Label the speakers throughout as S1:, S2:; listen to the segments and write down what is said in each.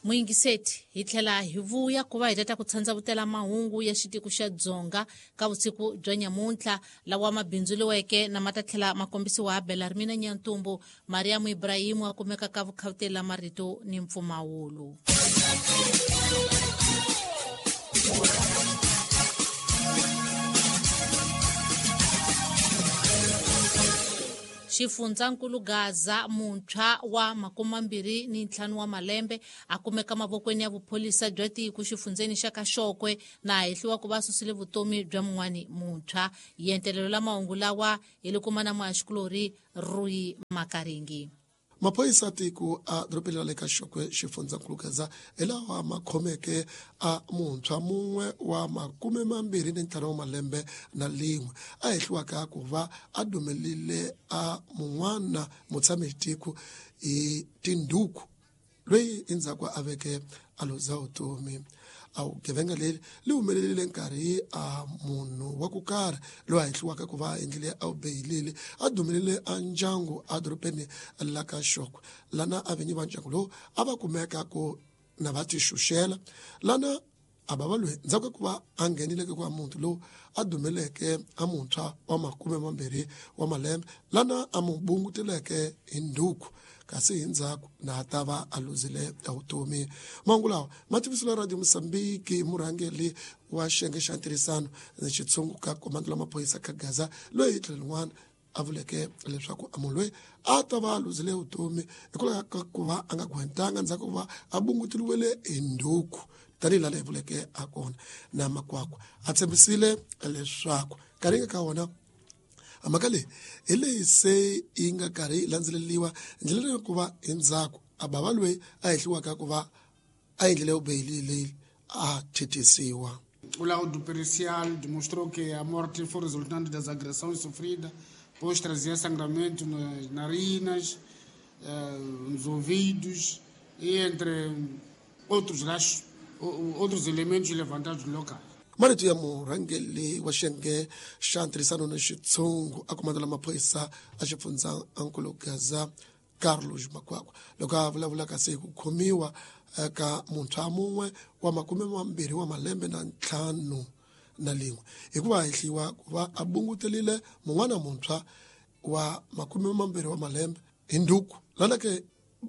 S1: Muyingiseti hi tlhela hi vuya ku va hi tata ku tshandzavutela mahungu ya xitiko xa Dzonga ka vusiku bya nyamuntlha lawa ma bindzuriweke na ma ta tlhela ma kombisiwa ha Belarmina Nyantumbu Mariamu Ibrahimu a kumeka ka vukhawuteli la marito ni mpfumawulo. Xifundzankulu Gaza muntshwa wa 25 wa malembe a kumeka mavokweni ya vupholisa bya tiko xifundzeni xa ka Xokwe na hehliwa ku va susile vutomi bya mun'wani muntshwa. Yentelelo la mahungu lawa hi le kuma na muhaxikulorhi Rui Makaringi.
S2: Maphorisa tiko a dorobeni ra le ka Xokwe xifundzankulu Gaza hi lawa ma khomeke a muntshwa mun'we wa 25 wa malembe na lin'we a hehliwaka ku va a dumelile a mun'wana mutshami tiko hi tindhuku loyi endzhaku a veke a luza vutomi. A vugevenga leri li humelerile nkarhi a munhu wa ku karhi loyi a hehliwaka ku va a endlile a beyilile a dumelile a ndyangu a dorobeni la ka Xokwe lana a vinyi va ndyangu lowu a va kumeka ku na va tixuxela lana a va va loyi ndzhaku ka ku va a nghenile ka ku munhu lowu a dumeleke a muntshwa wa 20 wa malembe lana a mu bunguteleke hi ndhuku kasi hi ndzhaku na ta va a luzile vutomi. Mahungu lawa ma tivisiwile Radio Mozambique murhangeri wa xiyenge xa ntirhisano ni xitshungu ka komando la maphorisa ka Gaza loyi hi tlhelo rin'wana a vuleke leswaku a munhu loyi a ta va a luzile vutomi hikwalaho ka ku va a nga gwentanga ndzhaku ku va a bunguteliwile hi ndhuku tanihi laha hi vuleke a kona na makwakwa a tshembisile leswaku nkarhi nga ka wona mhaka leyi hi leyi se yi nga karhi yi landzeleriwa ndlela leyi ku va hi ndzhaku a bava loyi a hehliwaka ku va a endlile vubeyili leyi a thethisiwa.
S3: O laudo pericial demonstrou que a morte foi resultante das agressões sofridas, pois trazia sangramento nas narinas, nos ouvidos e entre outros rachos, outros elementos levantados no local.
S2: Marito ya murhangeri wa xiyenge xa ntirhisano ni xitshungu a komando la maphorisa a xifundzankulu Gaza Carlos Makwakwa loko a vulavula kasi hi ku khomiwa ka muntshwa mun'we wa 25 wa malembe na 5 na lin'we hikuva hehliwa ku va a bungutelile mun'wana muntshwa wa 20 wa malembe hi ndhuku lana ke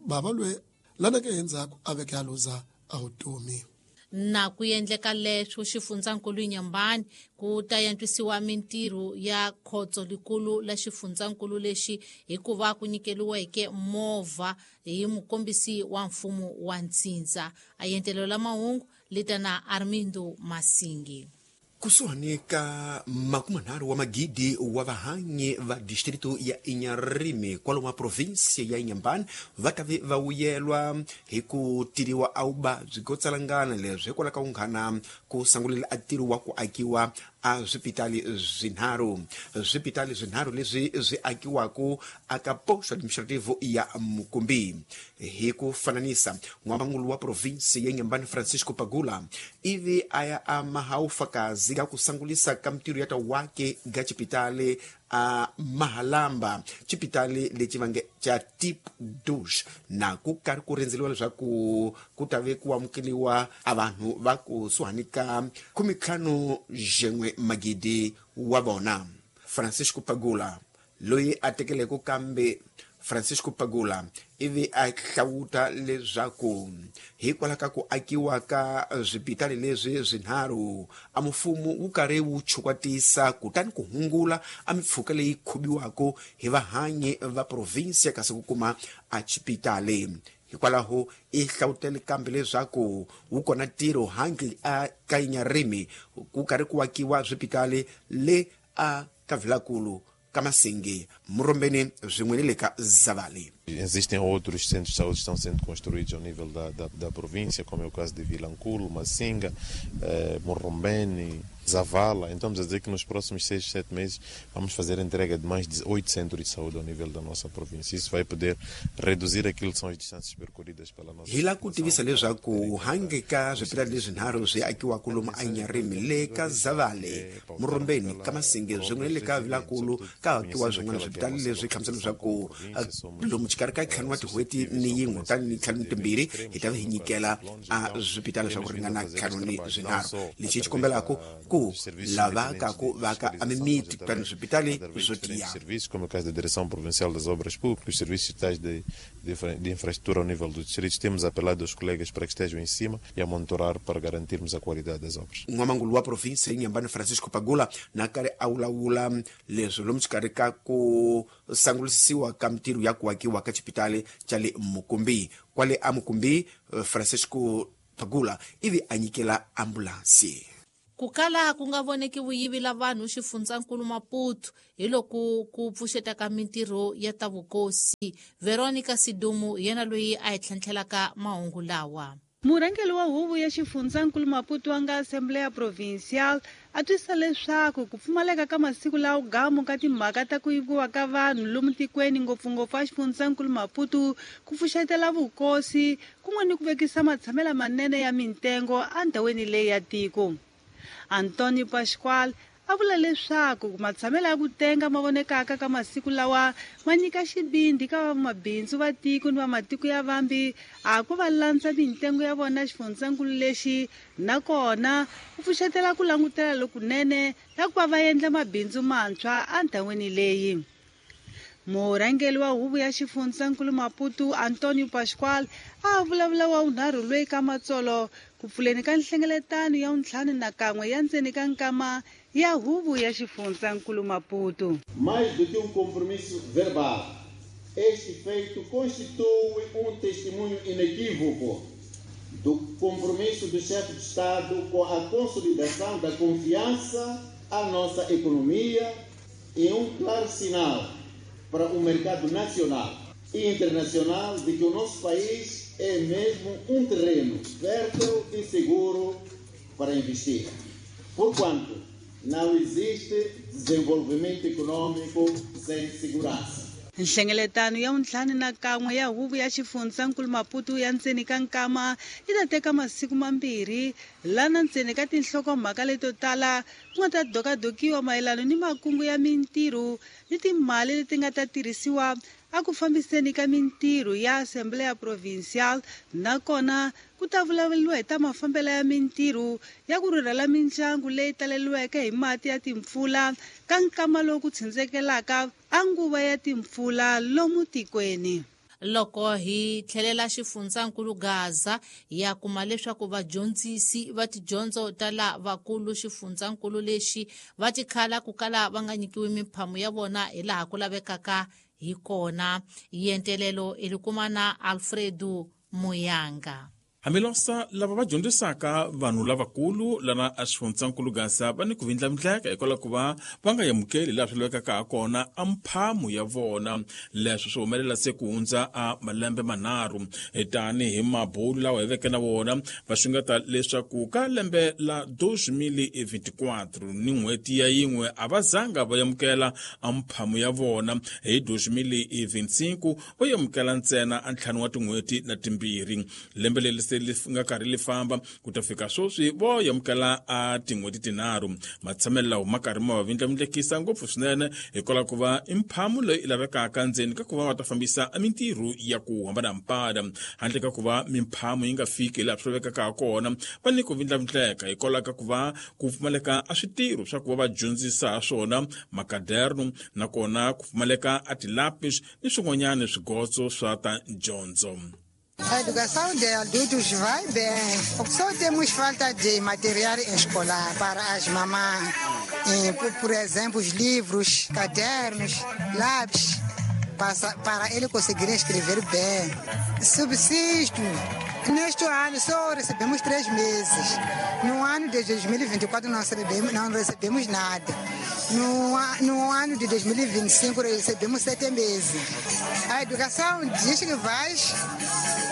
S2: bava loyi lana ke endzhaku a veke a luza a vutomi.
S1: Na ku endleka leswo xifundzankulu Inhambane ku ta yantswisiwa mintirho ya khotso likulu la xifundzankulu lexi hikuva ku nyikeliweke movha hi mukombisi wa mfumo wa ntsindza. A yentelelo la mahungu lita na Armindo Masingi.
S4: Kusuhani ka 30 wa magidi wa vahanyi va distrito ya Inharime kwalomu a província ya Inhambane va ta ve va wuyelwa hi ku tiriwa a vuvabyi byo tsalangana leswi hikwalaho ka unghana ku sangulela a ntirho wa ku akiwa a swipitali swinharhu. Swipitali swinharhu leswi swi akiwaku aka posto administrativo ya Mukumbi. Hi ku fananisa, n'wamangulu wa província ya Inhambane Francisco Pagula ivi a ya a maha ufakazi ga ku sangulisa ka mintirho ya ta wake ga xipitali a Mahalamba, xipitali lexi va nge xa Tip Douche, na ku karhi ku rindzeliwa leswaku ku ta ve ku amukeliwa a vanhu va kusuhani ka 15 magidi wa vona. Francisco Pagula loyi a tekeleke kambe Francisco Pagula ivi a hlawuta leswaku hikwalaho ka ku akiwa ka swipitali leswi swinharhu a mfumo wu karhi wu chukwatisa kutani ku hungula a mipfhuka leyi khubiwaka hi vahanyi va provinsia kasi ku kuma a xipitali. Hikwalaho i hlawutele kambe leswaku wu kona ntirho handle a ka Inharime ku karhi ku akiwa swipitali le a ka Vilakulu ka Masingi, Murombeni swin'we ni le ka Zavali.
S5: Existem outros centros de saúde que estão sendo construídos ao nível da província, como é o caso de Vilanculo, Massinga, Morrombene, Zavala. Então, vamos dizer que nos próximos 6, 7 meses vamos fazer a entrega de mais de 8 centros de saúde ao nível da nossa província. Isso vai poder reduzir aquilo que são as distâncias percorridas pela nossa
S4: Hi la ku tivisa leswaku handle ka swipitali leswinharhu swi akiwaka lomu a Inharime le ka Zavale, Murombeni, ka Masingi swin'we ni le ka Vilankulu ka akiwa swin'wana swipitali leswi hlamusela leswaku lomu xikarhi ka ntlhanu wa tin'hweti ni yin'we kutani ni ntlhanu ni timbirhi hi ta va hi nyikela a swipitali swa ku ringana ntlhanu ni swinharhu. Lexi hi xi kombelaka ku lavaka ku vaka a mimiti kutani swipitali swo tiya.
S5: Serviços, como é o caso da Direção Provincial das Obras Públicas, os serviços digitais de infraestrutura ao nível dos distritos, temos apelado aos colegas para que estejam em cima e a monitorar para garantirmos a qualidade das obras.
S4: N'wamangulu wa provinsi Inhambane Francisco Pagula na karhi a vulavula leswi lomu xikarhi ka ku sangulisisiwa ka mintirho ya ku akiwa ka xipitali xa le Mukumbi. Kwale a Mukumbi, Francisco Pagula ivi a nyikela ambulansi.
S1: Ku kala ku nga voneki vuyivi la vanhu xifundzankulu Maputo hi loko ku pfuxeta ka mintirho ya ta vukosi. Veronica Sidumu hi yena loyi a hi tlhentlhelaka mahungu lawa.
S6: Murhangeri wa huvo ya xifundzankulu Maputo wa nga Assembleia Provincial a twisisa leswaku ku pfumaleka ka masiku lawa gamu ka timhaka ta ku yiviwa ka vanhu lomu tikweni, ngopfungopfu a xifundzankulu Maputo, ku pfuxetela vukosi kun'we ni ku vekisa matshamelo manene ya mintengo endhawini leyi ya tiko. Antonio Pascual a vula leswaku matshamelo ya ku tenga ma vonekaka ka masiku lawa ma nyika xivindzi ka vamabindzu va tiko ni va matiko ya vambi a ku va landza mintengo ya vona xifundzankulu lexi, nakona ku pfuxetela ku langutela lokunene la ku va va endla mabindzu mantshwa endhawini leyi. Murhangeri wa huvo ya xifundzankulu Maputo Antonio Pascual a vulavula wa vunharhu loyi ka matsolo ku pfuleni ka nhlengeletano ya 51 ya ndzeni ka nkama ya huvo ya xifundzankulu Maputo.
S7: Mais do que compromisso verbal, este feito constitui testemunho inequívoco do compromisso do chefe de Estado com a consolidação da confiança à nossa economia e claro sinal para o mercado nacional e internacional de que o nosso país é mesmo terreno fértil e seguro para investir. Porquanto não existe desenvolvimento econômico sem segurança.
S6: Nhlengeletano ya 51 ya huvo ya xifundzankulu Maputo ya ndzeni ka nkama yi ta teka masiku mambirhi, lana ndzeni ka tinhlokomhaka leto tala ku nga ta dokadokiwa mayelana ni makungu ya mintirho ni timali leti nga ta tirhisiwa a ku fambiseni ka mintirho ya Assembleia Provincial, nakona ku ta vulavuriwa hi ta mafambelo ya mintirho ya ku rhurhela mindyangu leyi taleriweke hi mati ya timpfula ka nkama lowu ku tshindzekelaka a nguva ya timpfula lomu tikweni.
S1: Loko hi tlhelela xifundzankulu Gaza, ya kuma leswaku vadyondzisi va tidyondzo ta lavakulu xifundzankulu lexi va tikhala ku kala va nga nyikiwi miphamu ya vona hi laha ku lavekaka hi kona. Yentelelo i kuma na Alfredo Muyanga.
S8: Hambilosa lava va dyondzisaka vanhu lavakulu lana a xifundzankulu Gaza va ni ku vindlavindleka hikwalaho ku va va nga amukeli laha swi lavekaka ha kona a mphamu ya vona. Leswi swi humelela se ku hundza a malembe manharhu tanihi mabulu lawa hi veke na wona va xungeta leswaku ka lembe la 2024 ni n'hweti ya yin'we a va zanga va amukela a mphamu ya vona. Hi 2025 va amukela ntsena a ntlhanu wa tin'hweti na timbirhi. Lembe leri se li nga karhi li famba ku ta fika sweswi vo amukela a tin'hweti tinharhu. Matshamelo lawa ma karhi ma va vindlavindlekisa ngopfu swinene hikwalaho ku va i mphamu leyi lavekaka ndzeni ka ku va va ta fambisa mintirho ya ku hambanahambana. Handle ka ku va mimphamu yi nga fiki laha swi lavekaka ha kona, va ni ku vindlavindleka hikwalaho ka ku va ku pfumaleka a switirho swa ku va va dyondzisa ha swona makaderno, nakona ku pfumaleka a tilapis ni swin'wanyana swigotso swa ta dyondzo.
S9: A educação de adultos vai bem. Só temos falta de material escolar para as mamães. Por exemplo, os livros, cadernos, lápis, para ele conseguir escrever bem. Subsisto. Neste ano só recebemos 3 meses. No ano de 2024 não recebemos nada. No ano de 2025 recebemos 7 meses. A educação diz que vai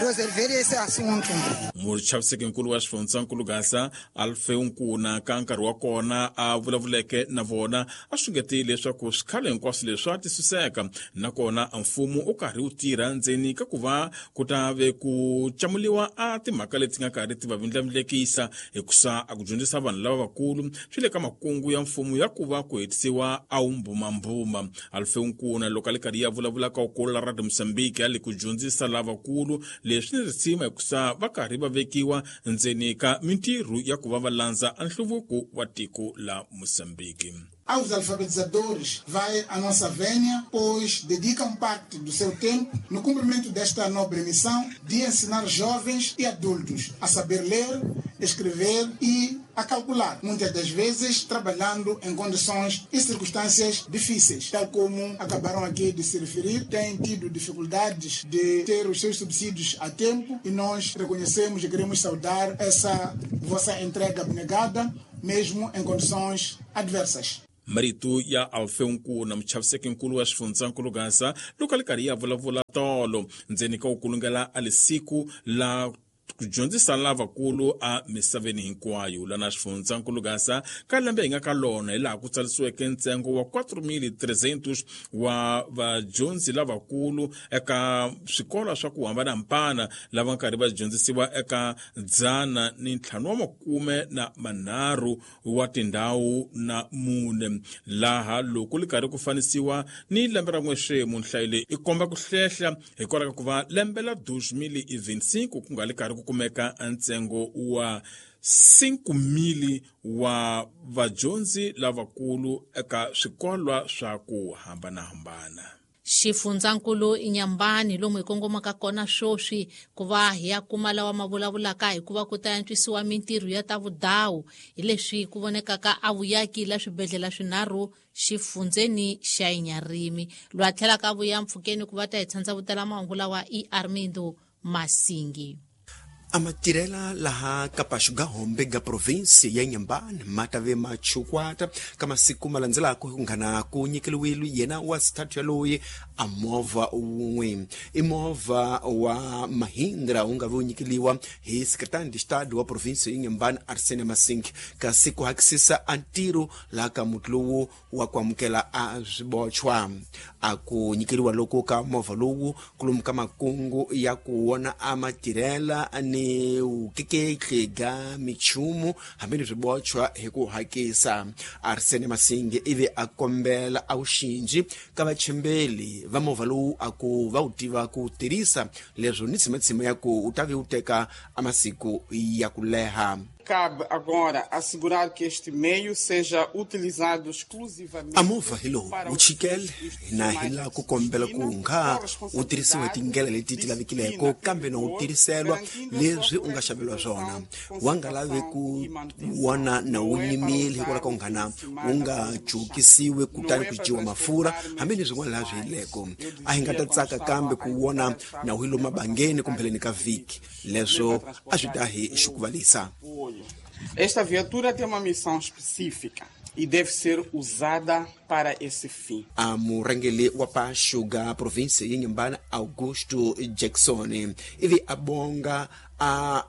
S9: resolver esse assunto.
S8: Muchavisekinkulu wa xifundzankulu Gaza Alfeu Nkuna ka nkarhi wa kona a vulavuleke na vona a xungetile leswaku swikhalo hinkwaswo leswi a tisuseka, nakona mfumo u karhi wu tirha ndzeni ka ku va ku ta ve ku camuliwa a timhaka leti nga karhi ti va vindlavindlekisa, hikusa a ku dyondzisa vanhu lava vakulu swi le ka makungu ya mfumo ya ku va ku hetisiwa a wu mbumambuma. Alfeu Nkuna loko a le karhi ya vulavula ka ukulu la Radio Mozambique ya le ku dyondzisa lavakulu leswi ni risima, hikusa va karhi va vekiwa ndzeni ka mintirho ya ku va va landza nhluvuko wa tiko la Mozambique.
S10: Aos alfabetizadores vai a nossa vénia, pois dedicam parte do seu tempo no cumprimento desta nobre missão de ensinar jovens e adultos a saber ler, escrever e a calcular, muitas das vezes trabalhando em condições e circunstâncias difíceis, tal como acabaram aqui de se referir, têm tido dificuldades de ter os seus subsídios a tempo e nós reconhecemos e queremos saudar essa vossa entrega abnegada, mesmo em condições adversas.
S8: Marito ya Alfeu Nkuna, muchavisekinkulu wa xifundzankulu Gaza, loko a le karhi ya vulavula tolo ndzeni ka ku kulungela a lisiku la ku dyondzisa lavakulu a misaveni hinkwayo lana xifundzankulu Gaza ka lembe hi nga ka lona, hi laha ku tsarisiweke ntsengo wa 4300 wa vadyondzi lavakulu eka swikolo swa ku hambanahambana lava karhi va dyondzisiwa eka 553 wa tindhawu na mune, laha loko li karhi ku fanisiwa ni lembe ra n'wexemu nhlayo leyi i komba ku hlehla hikwalaho ka ku va lembe la 2025 ku nga li karhi ku kumeka ntsengo wa 5000 wa vadyondzi lavakulu eka swikolwa swa ku hambanahambana.
S1: Xifundzankulu Inhambane lomu hi kongomaka kona sweswi ku va hi ya kuma lawa ma vulavulaka hikuva ku ta antswisiwa mintirho ya ta vudawu hi leswi ku vonekaka a vuyaki la swibedhlele swinharhu xifundzeni xa Inharime. Lwa tlhelaka vuya mpfhukeni ku va ta hi tshandza vutela mahungu lawa i Armindo Masingi.
S4: Amatirela laha kapaxu ga hombe ga provinsi ya Inhambane ma ta ve machukwata ka masiku ma landzelaka ku nghana ku nyikeliwile yena wa sithathu yaloyi a movha wun'we, i movha wa Mahindra wu nga ve wu nyikeliwa hi secretary de estado wa provinsi ya Inhambane Arsene Masing, kasi ku hakisisa a ntirho laha ka muti lowu wa ku amukela a swibochwa. A ku nyikeliwa loko ka movha lowu kulomu ka makungu ya ku wona a matirhela ni vukeketli ga michumu hambi ni swibochwa hi ku hakisa. Arsene Masingi ivi a kombela a wuxinji ka vachembeli va movha lowu a ku va wu tiva ku tirhisa leswo ni tshimatshima ya ku wu ta ve wu teka a masiku ya ku leha.
S11: Cabe agora assegurar que este meio seja utilizado exclusivamente
S4: A movha hi lowu wu chikele na hi laha ku kombela ku nga wu tirhisiwa hi tindlela leti ti lavekileko, kambe na wu tirhiselwa leswi u nga xaveliwa swona, wa nga lavi ku wona na wu nyimile hikwalaho ka nghana wu nga cukisiwi kutani ku dyiwa mafurha hambi ni swin'wana laha swi yileko. A hi nga ta tsaka kambe ku wona na wu lomu mabangeni kumbheleni ka vhiki, leswo a swi ta hi xukuvalisa.
S11: Esta viatura tem uma missão específica e deve ser usada para esse fim.
S4: A murhangeri wa paxu ga provinsi ya Inhambane Augusto Jackson ivi a bonga a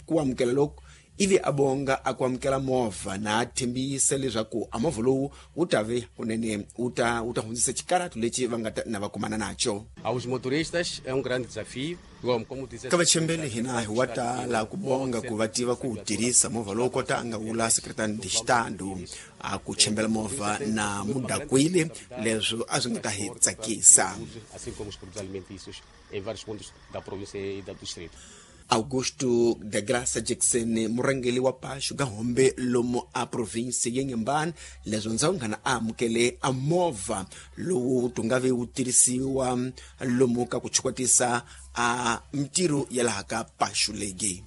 S4: ku amukela loko ivi a bonga a ku amukela movha na a tshembisa leswaku a movha lowu wu ta ve kunene wu ta hundzisa xikaratu lexi va nga ta na va kumana nacho.
S12: Aos motoristas é um grande desafio. Como dizer,
S4: ka vachembeli hina hi wa tala ku bonga ku va tiva ku tirhisa movha lowu kota a nga vula secretary de estado a ku chembela movha na mudakwile, leswo a swi nga ta hi tsakisa.
S12: Assim como os produtos alimentícios em vários pontos da província e do distrito.
S4: Augusto da Graça Jackson murhangeri wa paxu ga hombe lomu a provinsi ya Inhambane, leswo ndzhawu nghana a amukele a movha lowu tunga ve wu tirhisiwa lomu ka ku chukwatisa a mintirho ya laha ka paxu legi.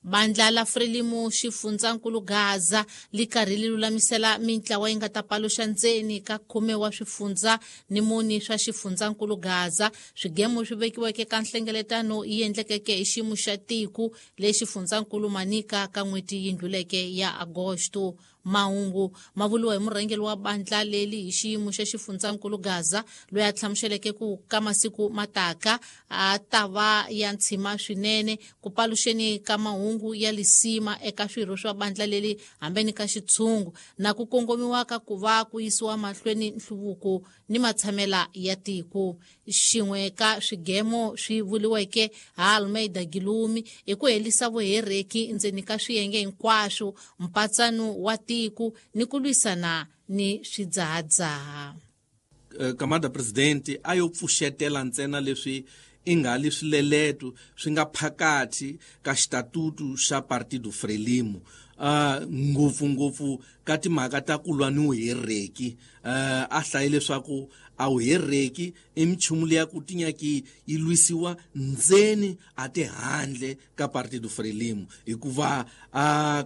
S1: Bandla la Frelimo xifundzankulu Gaza li karhi li lulamisela mintlawa yi nga ta paluxa ndzeni ka 10 wa swifundza ni muni swa xifundzankulu Gaza swigemu swi vekiweke ka nhlengeletano yi endlekeke hi xiyimo xa tiko lexi xifundzankulu Manica ka n'hweti yi ndluleke ya Agosto. Mahungu ma vuliwa hi murhangeri wa bandla leli hi xiyimo xa xifundzankulu Gaza, loyi a hlamuseleke ku ka masiku mataka a ta va ya ntshima swinene ku paluxeni ka mahungu ya lisima eka swirho swa bandla leli hambeni ka xitshungu na ku kongomiwa ka ku va ku yisiwa mahlweni nhluvuko ni matshamela ya tiko. Xin'we ka swigemo swi vuliweke ha Almeida Gilumi i ku helisa vuhereki ndzeni ka swiyenge hinkwaswo, mpatsano wa tiko ni ku lwisana ni swidzahadzaha.
S13: Kamada presidente a yo pfuxetela ntsena leswi i nga li swileleto swi nga phakathi ka xitatutu xa Partido Frelimo, ngopfungopfu ka timhaka ta ku lwa ni vuhereki. A hlaye leswaku a vuhereki i minchumu leya ku tinyaki yi lwisiwa ndzeni a ti handle ka Partido Frelimo, hikuva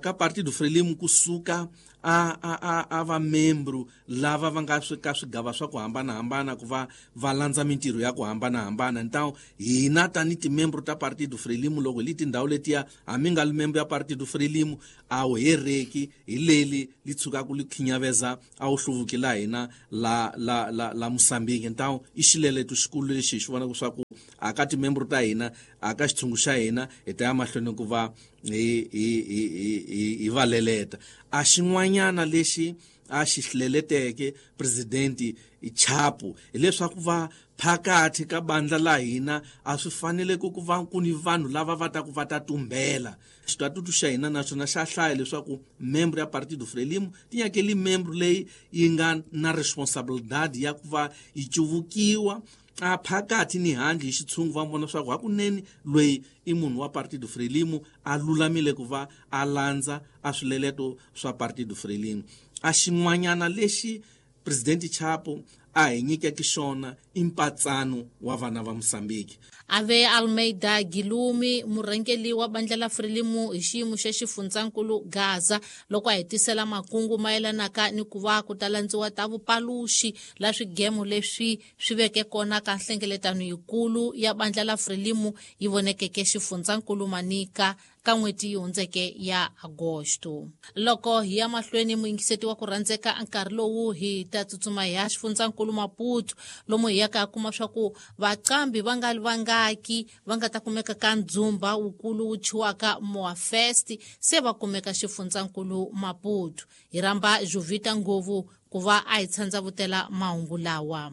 S13: ka Partido Frelimo kusuka a va membro lava va nga ka swigava swa ku hambanahambana ku va va landza mintirho ya ku hambanahambana. Ntawo hina tani timembro ta Partido Frelimo loko hi li tindhawu letiya hambi nga li membro ya Partido Frelimo a wu hereki hi leli li tshukaka li khinyaveza a wu hluvuki la hina la la la la Mosambiki. Ntawo i xileleto xikulu lexi hi xi vonaka swa ku a ka timembro ta hina a ka xitshungu xa hina hi ta ya mahlweni ku va hi va leleta. A xin'wanyana lexi a xi hleleteke presidenti Chapo hileswaku va phakathi ka bandla la hina a swi fanele ku va ku ni vanhu lava va ta ku va ta tumbela. Xitatutu xa hina naswona xa hlaya leswaku membro ya Partido Frelimo ti nyakeli membro leyi yi nga na responsabilidade ya ku va yi cuvukiwa a phakathi ni handle hi xitshungu, va vona leswaku hakunene loyi i munhu wa Partido Frelimo a lulamile ku va a landza a swileleto swa Partido Frelimo. A xin'wanyana lexi Presidente Chapo a hi nyikeke xona i mpatsano wa vana va Mosambiki.
S1: Ave Almeida Gilumi, murhangeri wa bandla la Frelimo hi xiyimo xa xifundzankulu Gaza, loko a hetisela makungu mayelanaka ni ku va ku ta landziwa ta vupaluxi la swigemo leswi swi veke kona ka nhlengeletano yikulu ya bandla la Frelimo yi vonekeke xifundzankulu Manika ka n'hweti yi hundzeke ya Agosto. Loko hi ya mahlweni muyingiseti wa ku rhandzeka nkarhi lowu hi ta tsutsuma hi ya xifundzankulu Maputo, lomu hi yaka kuma swa ku vaqambi va nga li vangaki va nga ta kumeka ka ndzumba wukulu wu thyiwaka Moa Fest se va kumeka xifundzankulu Maputo. Hi rhamba Jovita Ngovu ku va a hi tshandzavutela mahungu lawa.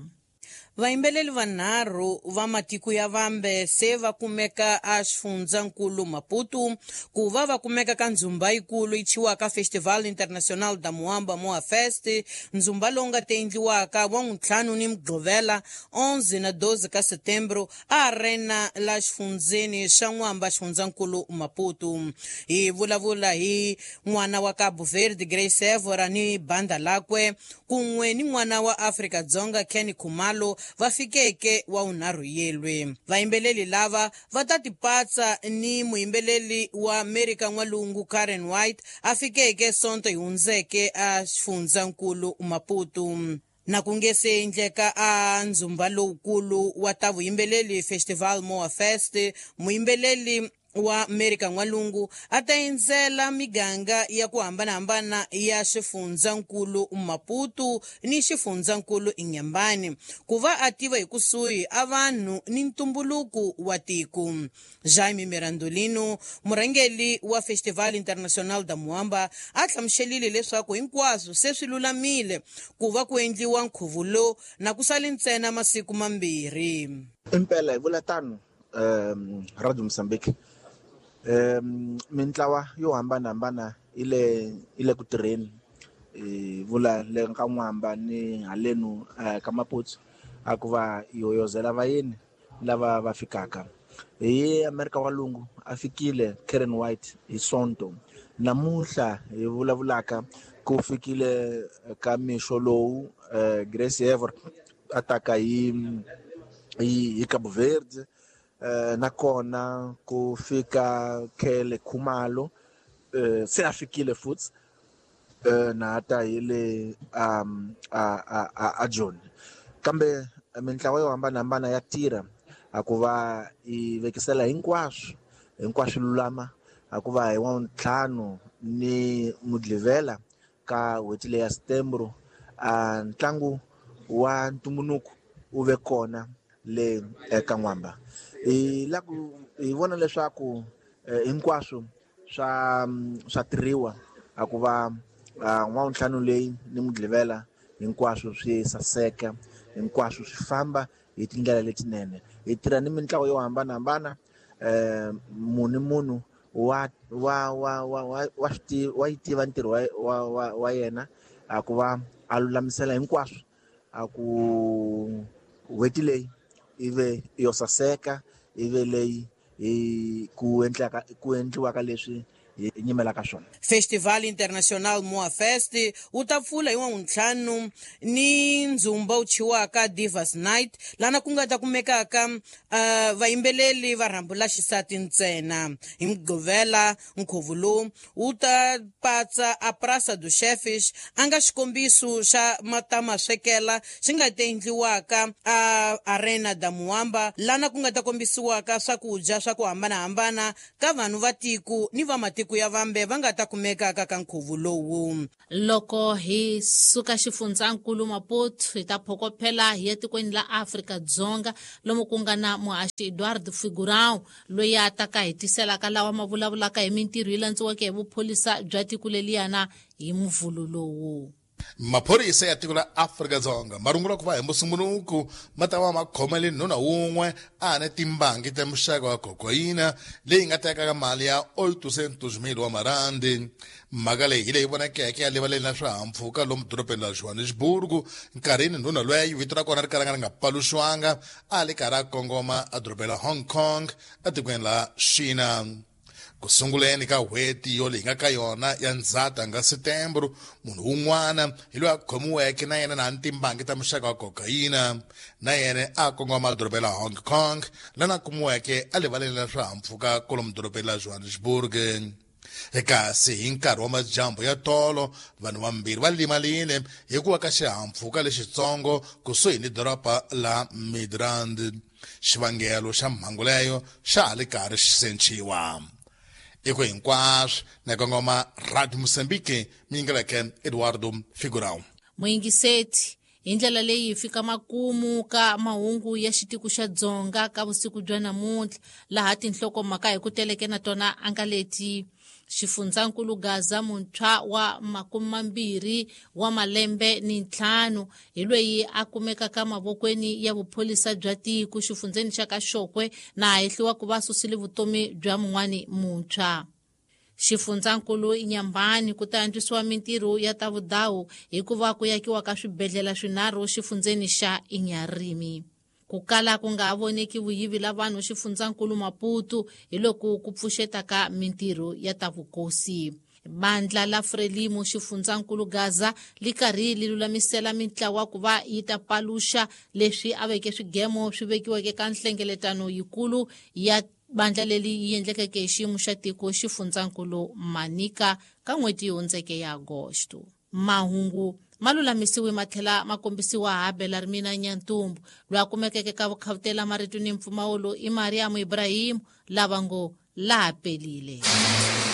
S14: Vayimbeleli vanharhu va matiko ya vambe se va kumeka a xifundzankulu Maputo ku va va kumeka ka ndzumba yikulu yi thyiwaka Festival Internacional da Moamba Moa Fest, ndzumba lowu nga ta endliwaka wa ntlhanu ni Mugqivela 11 na 12 ka Setembro a arena la xifundzeni xa N'wamba xifundzankulu Maputo. Hi vulavula hi n'wana wa Cabo Verde Grace Evora ni banda lakwe kun'we ni n'wana wa Afrika-Dzonga Kenny Khumalo va fikeke wa unharhu yelwe. Vayimbeleli lava va ta tipatsa ni muyimbeleli wa Amerika N'walungu Karen White a fikeke Sonto yi hundzeke a xifundzankulu Maputo. Na ku nge se endleka a ndzumba lowukulu wa ta vuyimbeleli Festival Moa Fest, muyimbeleli wa Amerika N'walungu a ta endzela miganga ya ku hambanahambana ya xifundzankulu Maputo ni xifundzankulu Inhambane ku va a tiva hi kusuhi a vanhu ni ntumbuluko wa tiko. Jaime Mirandolino, murhangeri wa Festival Internacional da Moamba, a hlamuselile leswaku hinkwaswo se swi lulamile ku va ku endliwa nkhuvo lowu na ku sale ntsena masiku mambirhi.
S15: Impela hi vula tano, Radio Mozambique, mintlawa yo hambanahambana yi le ku tirheni, hi vula le ka N'wamba ni halenu ka Maputo a ku va yoyozela vayeni lava va fikaka. Hi Amerika N'walungu a fikile Karen White hi Sonto, namuntlha hi vulavulaka ku fikile ka mixo lowu Grace Evora a taka hi Cabo Verde, nakona ku fika Khele Khumalo, se a fikile futhi na ta hi le a Joni. Kambe mintlawa yo hambanahambana ya tirha a ku va yi vekisela hinkwaswo lulama, a ku va hi wa ntlhanu ni Mugqivela ka n'hweti leya Setembro a ntlangu wa ntumbuluko wu ve kona le eka N'wamba. Hi la ku hi vona leswaku hinkwaswo swa tirhiwa a ku va n'wawuntlhanu leyi ni Mugqivela hinkwaswo swi saseka, hinkwaswo swi famba hi tindlela letinene. Hi tirha ni mintlawa yo hambanahambana, munhu ni munhu wa wa wa wa wa wa swi wa yi tiva ntirho wa yena a ku va a lulamisela hinkwaswo a ku n'hweti leyi yi ve yo saseka, yi ve leyi hi ku endlaka ku endliwaka leswi hi nyimelaka swona.
S14: Festival International Moa Fest wu ta pfula hi Wavuntlhanu ni ndzumba wu thyiwaka Divas Night, lana ku nga ta kumekaka vayimbeleri va rhambu la xisati ntsena. Hi Mugqivela nkhuvo lowu wu ta patsa a Praça dos Chefes, a nga xikombiso xa matamaswekela xi nga ta endliwaka a Arena da Muamba, lana ku nga ta kombisiwaka swakudya swa ku hambanahambana ka vanhu va tiko ni va matiko ya vambe va nga ta kumekaka ka nkhuvo lowu.
S1: Loko hi suka xifundzankulu Maputo hi ta phokophela hi ya tikweni la Afrika-Dzonga lomu ku nga na muhaxi Eduardo Figurão loyi a taka hi tiselaka lawa ma vulavulaka hi mintirho yi landziweke hi vupholisa bya tiko leliyana hi muvhulu lowu.
S16: Maphorisa ya tiko la Afrika-Dzonga ma rungula ku va hi Musumbhunuku ma ta va ma khomele nuna wun'we a na timbangi ta muxaka wa kokayina leyi nga tekaka mali ya 800,000 wa marandi. Mhaka leyi hi leyi vonakeke ya livaleni la swihahampfhuka lomu dorobeni la Johannesburg nkarhini nuna loyi vito ra kona ri kalanga ri nga paluxiwanga a li karhi a kongoma edorobeni la Hong Kong etikweni la China. Ku sunguleni ka n'hweti yo leyi nga ka yona ya Ndzhati nga Setembro, munhu wun'wana hi loyi a khomiweke na yena na timbangi ta muxaka wa kokayina na yena a kongoma dorobeni la Hong Kong lana kumiweke a livaleni la swihahampfhuka kwalomu dorobeni la Johannesburg. Kasi hi nkarhi wa madyambu ya tolo vanhu vambirhi va limalile hi ku wa ka xihahampfhuka lexitsongo kusuhi ni doroba la Midrand. Xivangelo xa mhangu leyo xa ha li karhi xi senciwa. Eko hinkwaswo na kongoma Radio Mozambique miyingeleke Eduardo Figurão.
S1: Muyingiseti hi ndlela leyi hi fika makumu ka mahungu ya xitiko xa Dzonga ka vusiku bya namuntlha laha tinhlokomhaka hi ku teleke na tona a nga leti. Xifundzankulu Gaza muntshwa wa 25 wa malembe ni 5 hi loyi a kumekaka mavokweni ya vupholisa bya tiko xifundzeni xa ka Xokwe na hehliwa ku va susile vutomi bya mun'wani muntshwa. Xifundzankulu Inyambani ku ta antswisiwa mintirho ya ta vudawu hikuva ku yakiwa ka swibedhlele swinharhu xifundzeni xa Inyarimi. Ku kala ku nga voneki vuyivi la vanhu xifundzankulu Maputo hi loko ku pfuxetaka mintirho ya ta vukosi. Bandla la Frelimo xifundzankulu Gaza li karhi li lulamisela mintlawa ku va yi ta paluxa leswi a veke swigemo swi vekiweke ka nhlengeletano yikulu ya bandla leri yi endlekeke hi xiyimo xa tiko xifundzankulu Manica ka n'hweti yi hundzeke ya Agosto. Mahungu ma lulamisiwe ma tlhela ma kombisiwa ha Belarmina Nyantumbu loyi a kumekeke ka vukhavutela marito ni mpfumawulo i Mariam Ibrahim lava ngo laha pelile.